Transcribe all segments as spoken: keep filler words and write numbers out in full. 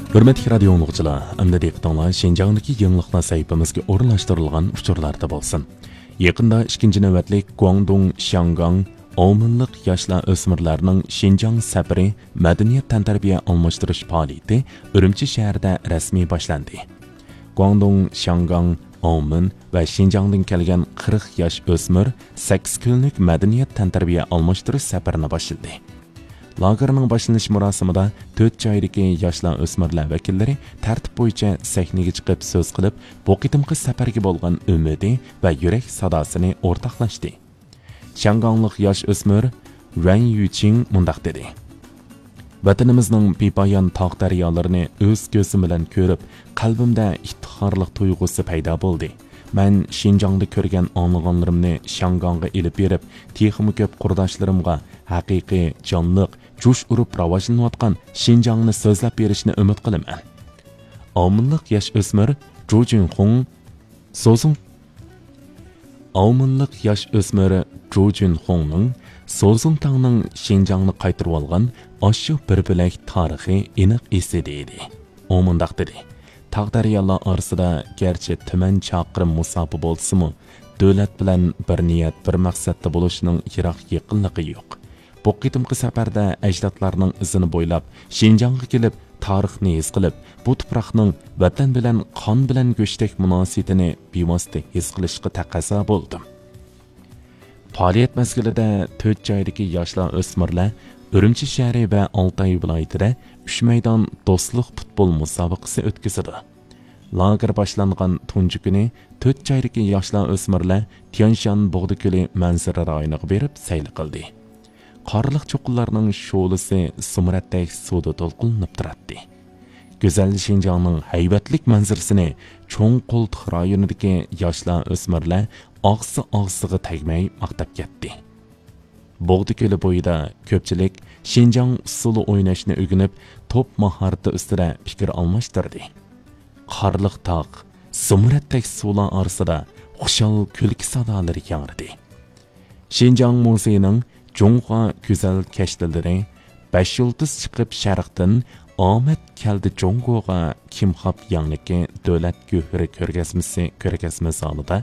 ھۆرمەتلىك رادىيو ئاڭلىغۇچىلار، ئەمدى دىققىتىڭلار شىنجاڭدىكى يېڭىلىقلار سەھىپىمىزگە ئورۇنلاشتۇرۇلغان ئۇچۇرلاردا بولسۇن. يېقىندا ئىككىنچى نۆۋەتلىك گۇاڭدۇڭ شياڭگاڭ ئاۋمېنلىق ياشلار ئۆسمۈرلەرنىڭ شىنجاڭ سەپىرى مەدەنىيەت تەنتەربىيە ئالماشتۇرۇش پائالىيىتى ئۈرۈمچى شەھىرىدە رەسمىي باشلاندى. گۇاڭدۇڭ شياڭگاڭ ئاۋمېن ۋە شىنجاڭدىن كەلگەن قىرىق ياش ئۆسمۈر سەككىز كۈنلۈك مەدەنىيەت تەنتەربىيە ئالماشتۇرۇش سەپىرىنى باشلىدى. لاگېرنىڭ باشلىنىش مۇراسىمىدا تۆت جايدىكى ياشلار ئۆسمۈرلەر ۋەكىللىرى تەرتىپ بويىچە سەھنىگە چىقىپ سۆز قىلىپ، بۇ قېتىمقى سەپەرگە بولغان ئۈمىدى ۋە يۈرەك ساداسىنى ئورتاقلاشتى. شياڭگاڭلىق ياش ئۆسمۈر ۋەن يۈچىڭ مۇنداق دېدى: ۋەتىنىمىزنىڭ بىپايان تاغ دەريالىرىنى ئۆز كۆزۈم بىلەن كۆرۈپ، قەلبىمدە ئىپتىخارلىق تۇيغۇسى پەيدا بولدى. مەن شىنجاڭدا كۆرگەن ئاڭلىغانلىرىمنى شياڭگاڭغا ئېلىپ بېرىپ، تېخىمۇ كۆپ قۇرداشلىرىمغا ھەقىقىي، جانلىق، جۇش ئۇرۇپ راۋاجلىنىۋاتقان شىنجاڭنى سۆزلەپ بېرىشنى ئۈمىد قىلىمەن. ئاۋمېنلىق ياش ئۆسمۈر جۇ جۈنخۇڭ سوزۇڭ ئاۋمېنلىق ياش ئۆسمۈر جۇ جۈنخۇڭنىڭ سوزۇڭتاڭنىڭ شىنجاڭنى قايتۇرۇۋالغان ئاشۇ بىر بۆلەك تارىخى ئېنىق ئېسىدە ئىدى. ئۇ مۇنداق دېدى: تاغ دەريالار ئارىسىدا گەرچە تۈمەن چاقىرىم مۇساپە بولسىمۇ، دۆلەت بىلەن بىر نىيەت، بىر مەقسەتتە بولۇشنىڭ يىراق يېقىنلىقى يوق. بۇ قېتىمقى سەپەردە ئەجدادلارنىڭ ئىزىنى بويلاپ، شىنجاڭغا كېلىپ، تارىخنى ھېس قىلىپ، بۇ تۇپراقنىڭ ۋەتەن بىلەن قان بىلەن گۆشتەك مۇناسىۋىتىنى بىۋاسىتە ھېس قىلىشقا تەقەززا بولدۇم. پائالىيەت مەزگىلىدە تۆت جايدىكى ياشلار ئۆسمۈرلەر ئۈرۈمچى شەھىرى ۋە ئالتاي ۋىلايىتىدە ئۈچ مەيدان دوستلۇق پۇتبول مۇسابىقىسى ئۆتكۈزىدۇ. لاگېر باشلانغان تۇنجى كۈنى تۆت جايدىكى ياشلار ئۆسمۈرلەر تيەنشان بۇغدا كۆلى مەنزىرە رايونىغا بېرىپ سەيلە قىلدى. قارلىق چوققىلارنىڭ شولىسى زۇمرەتتەك سۇدا تولقۇنلىنىپ تۇراتتى. گۈزەل شىنجاڭنىڭ ھەيۋەتلىك مەنزىرىسىنى چوڭ قولتۇق رايونىدىكى ياشلار ئۆسمۈرلەر ئاغزى ئاغزىغا تەگمەي ماختاپ كەتتى. بۇغدا كۆلى بويىدا كۆپچىلىك شىنجاڭ ئۇسسۇلى ئويناشنى ئۆگىنىپ، توپ ماھارىتى ئۈستىدە پىكىر ئالماشتۇردى. قارلىق تاغ، زۇمرەتتەك سۇلار ئارىسىدا خۇشال كۈلكە سادالىرى ياڭرىدى. شىنجاڭ مۇزېيىنىڭ جۇڭخۇا گۈزەل كەشتىلىرى، بەش يۇلتۇز چىقىپ شەرقتىن، ئامەت كەلدى جۇڭگوغا كىمخاب ياڭنىكى دۆلەت گۆھىرى كۆرگەزمىسى كۆرگەزمە زالىدا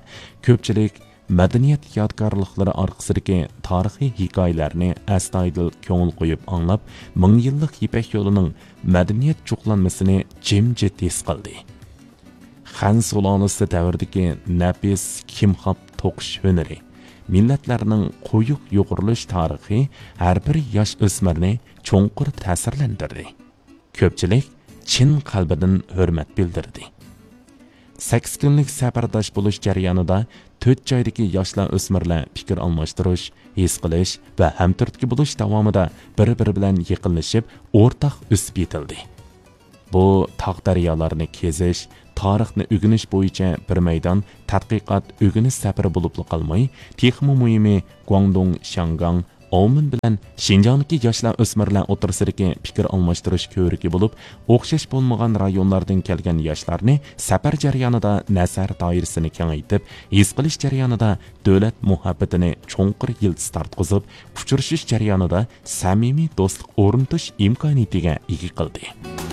كۆپچىلىك مەدەنىيەت يادىكارلىقلىرى ئارقىسىدىكى تارىخىي ھېكايىلەرنى ئەستايىدىل كۆڭۈل قويۇپ ئاڭلاپ، مىڭ يىللىق يىپەك يولىنىڭ مەدەنىيەت جۇغلانمىسىنى جىمجىت ھېس قىلدى. خەن سۇلالىسى دەۋرىدىكى نەپىس كىمخاب توقۇش ھۈنىرى، مىللەتلەرنىڭ قويۇق يۇغۇرۇلۇش تارىخى ھەر بىر ياش ئۆسمۈرنى چوڭقۇر تەسىرلەندۈردى. كۆپچىلىك چىن قەلبىدىن ھۆرمەت بىلدۈردى. سەككىز كۈنلۈك سەپەرداش بولۇش جەريانىدا تۆت جايدىكى ياشلار ئۆسمۈرلەر پىكىر ئالماشتۇرۇش، ھېس قىلىش ۋە ھەمتۈرتكە بولۇش داۋامىدا بىر-بىرى بىلەن يېقىنلىشىپ، ئورتاق ئۆسۈپ يېتىلدى. بۇ تاغ دەريالارنى كېزىش، تارىخنى ئۆگىنىش بويىچە بىر مەيدان تەتقىقات ئۆگىنىش سەپىرى بولۇپلا قالماي، تېخىمۇ مۇھىمى گۇاڭدۇڭ شياڭگاڭ ئاۋمېن بىلەن شىنجاڭدىكى ياشلار ئۆسمۈرلەر ئوتتۇرىسىدىكى پىكىر ئالماشتۇرۇش كۆۋرۈكى بولۇپ، ئوخشاش بولمىغان رايونلاردىن كەلگەن ياشلارنى سەپەر جەريانىدا نەزەر دائىرىسىنى كېڭەيتىپ، ھېس قىلىش جەريانىدا دۆلەت مۇھەببىتىنى چوڭقۇر يىلتىز تارتقۇزۇپ، ئۇچرىشىش جەريانىدا سەمىمىي دوستلۇق ئورنىتىش ئىمكانىيىتىگە ئىگە قىلدى.